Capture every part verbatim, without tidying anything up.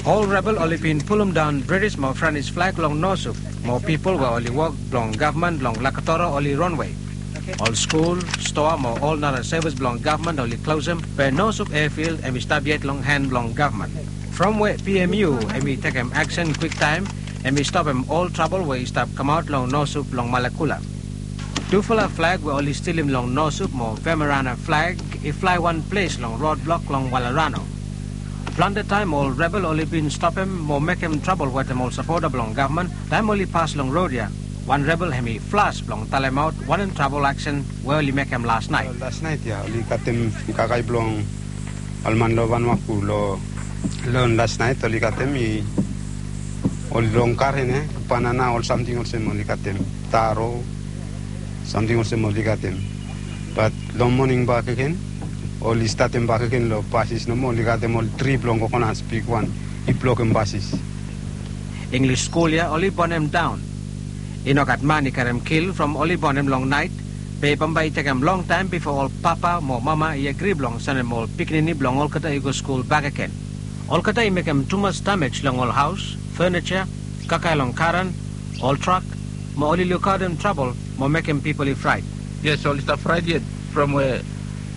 Ol rebel oli bin pulumdaon British mo French flag long Norsup, mo pipol we oli wok blong gavman long Lakatoro oli ronwe. Ol skul, stoa mo ol nara sevis blong gavman oli klosem, be Norsup airfield hemi stap yet long han blong gavman. From we P M U hemi tekem aksen kwiktaem, hemi stopem ol trabol we i stap kamaot long Norsup long Malakula. Tufala flag we oli stilim long Norsup mo Vemerana flag i flae wan ples long rodblok long Walerano. Plante taem ol rebel oli bin stopem mo mekem trabol wetem ol sapota blong gavman taem oli pas long rod ya. Wan rebel hemi flas blong talemaot wanem trabol aksen we oli mekem lasnaet. Lasnaet ya oli katem kakae blong ol man long Vanuaku long lon lasnaet oli katem i ol long karen e banana ol samting olsem oli katem taro samting olsem oli katem. Bat long moning bakegen oli statem bakegen long basis nomo oli katem ol tri blong kokonas bigwan i blokem basis. Inglis skul ya oli bonem daon. I no gat man i karem kil from oli bonem long naet, be bambae i tekem longtaem bifo ol papa mo mama i agri blong sendem ol pikinini blong olgeta i go skul bakegen. Olgeta i mekem tumas damej long ol haos, fenija, kakae long karan, ol trak, mo oli lukaotem trabol mo mekem pipol i fraet. Yes, oli stap fraet yet from we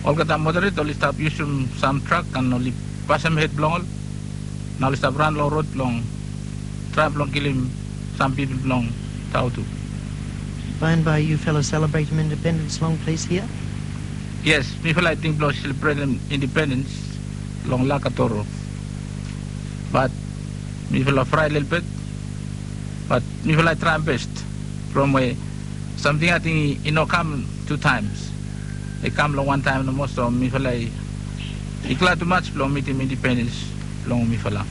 olgeta moderet oli stap yusum sam trak an oli basem hed blong ol. Nao oli stap ran long rod blong traem blong kilim sam pipol blong Tautu. By and by you fellow celebratem independence long ples hia? Yes, mifala i ting blong selebretem independens long Lakatoro. Bat mifala fraet lelebet. Bat mifala i traem bes from we samting ating i no kam tu taems. I kam long wan taem nomo so mifala i glad tumas blong mitim independens blong mifala.